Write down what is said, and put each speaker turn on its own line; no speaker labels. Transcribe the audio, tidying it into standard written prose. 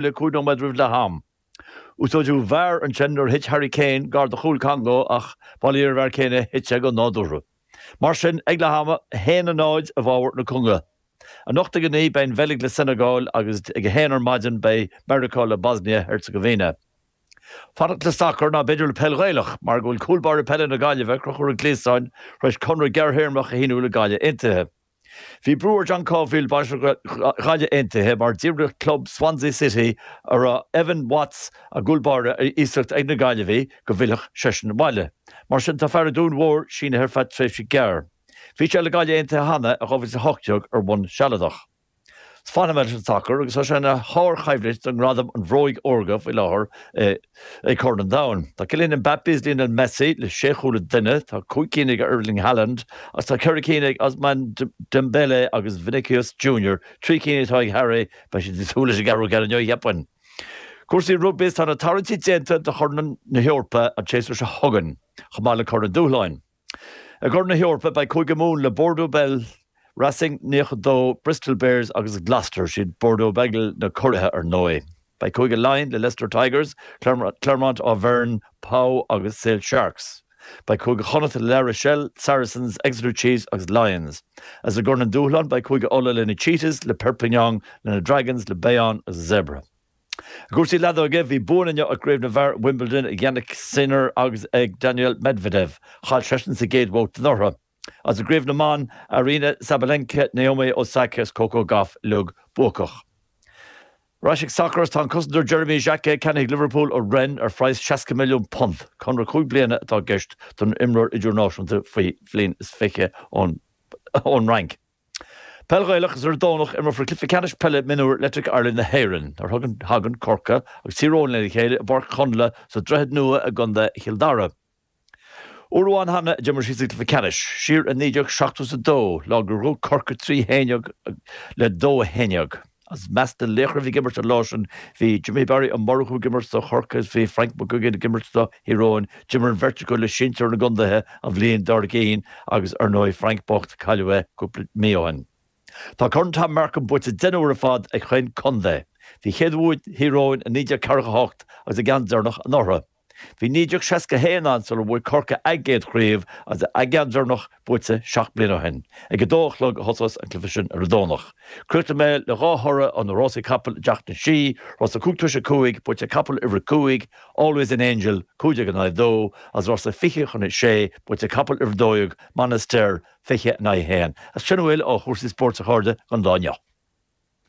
le 5 nóiméad roimh leath am. Úsáideadh VAR ansin nuair a thit Harry Kane gar do chúl Congo ach bail ó Dhia ar an bhfear céanna, thit sé go nádúrtha. Mar sin, ag leath ama, 1-0 i bhfabhar na Congó. Anocht ag 9 beidh an Bheilg le Seineagáil agus ag 1 ar maidin beidh Meiriceá le Bosnia-Herzegovina. Fanacht le sacar ná b'fhéidir le peil Ghaelach mar go bhfuil cúl báire peile na Gaillimhe, Conchúr Ó Gliasáin, tar éis conradh gearrthéarmach a shíniú le Gaillimh Aontaithe. Bhí brú ar John Caulfield, bainisteoir Ghaillimh Aontaithe, mar d'fhiafraigh club Swansea City, a raibh Evan Watts, a gcúl báire, ar iasacht ag na Gaillimhigh, go bhfillfeadh seisean abhaile. Mar sin, tá fear an Dúin Mhóir sínithe ar feadh tréimhse gearr. Bhí sé le Gaillimh Aontaithe cheana i 2018 ar bhonn sealadach. Fanfaidh mé leis an sacar agus tá sé ina shárchoimhlint do ngradam an Bhróig Órga faoi láthair ag Corn an Domhain. Tá Kylian Mbappe is Lionel Messi le sé chúl an duine, tá 5 cinn ag Erling Haaland agus tá 4 cinn ag Ousmane Dembele agus Vinicius Junior, 3 cinn atá ag Harry, beidh siad ag súil leis an gceathrú ceann inniu, cheapfainn. Cúrsaí rugbaí is tá na tarraingtí déanta do Chorn na hEorpa an tséasúr seo chugainn, chomh maith le Corn an Dúshláin. I gCorn na hEorpa, beidh Cúige Mumhan le Bordeaux Bègles, Racing 92, Bristol Bears agus Gloucester. Siad Bordeaux Bègles na curaithe ar ndóigh. Beidh Cúige Laighean le Leicester Tigers, Clermont Auvergne, Pau agus Sale Sharks. Beidh Cúige Chonnacht le La Rochelle, Saracens, Exeter Chiefs agus Lions. Agus i gCorn an Dúshláin, beidh Cúige Uladh le na Cheetahs, le Perpignan, le na Dragons, le Bayonne agus Zebre. I gcúrsaí leadóige, bhí buanna inniu i gCraobh na bhFear i Wimbledon ag Jannik Sinner agus ag Daniil Medvedev. Chaill seisean sa gcéad bhabhta anuraidh. Agus i gCraobh na mBan, Aryna Sabalenka, Naomi Osaka is Coco Gauff uilig buacach. Ar ais ag sacar is tá an cosantóir Jeremy Jacquet ceannaithe ag Liverpool ó Rennes ar phraghas £60 milliún. Conradh 5 bliana atá i gceist don imreoir idirnáisiúnta faoi bhliain is 20 ón Fhrainc. Peil Ghaelach is ar an Domhnach imreofar cluiche ceannais peile mionúir Electric Ireland na hÉireann nuair a thagann Corcaigh agus Tír Eoghain lena chéile i bPáirc Chonla sa Droichead Nua i gContae Chill Dara. Uair amháin cheana a d'imir siad sa gcluiche ceannais, siar i 1972, lá gur bhuaigh Corcaigh 3 1 le 2 1. As measc na laochra a bhí ag imirt an lá sin bhí Jimmy Barry Ó Murchú ag imirt do Chorcaigh is bhí Frank McGuigan ag imirt do Thír Eoghain. D'imir an bheirt acu le sinsir na gcontaetha an bhliain dár gcionn agus ar ndóigh Frank bocht cailleadh é cúpla mí ó shin. Tá Corn Tom Markham buaite 10 n-uair ar fad ag chaon contae. Bhí chéad bhua Thír Eoghain i 1948 agus a gceann deireanach anuraidh. Bhí 1961 ann sular bhuaigh Corcaigh a gcéad chraobh agus a gceann deireanach buaite 7 mbliana ó shin. Ag 2 a chlog a thosós an cluiche sin ar an Domhnach. Críochnóidh mé le dhá thoradh ó na rásaí capall i dTeach na Sí, rása 5 toise 5, buaite ag capall uimhir 5, Always an Angel, 15 in aghaidh 2, agus rása 20 chun 6, buaite ag capall uimhir 12, Monaster, 20 in aghaidh 1. Agus sin a bhfuil ó chúrsaí spóirt a chairde don lá inniu.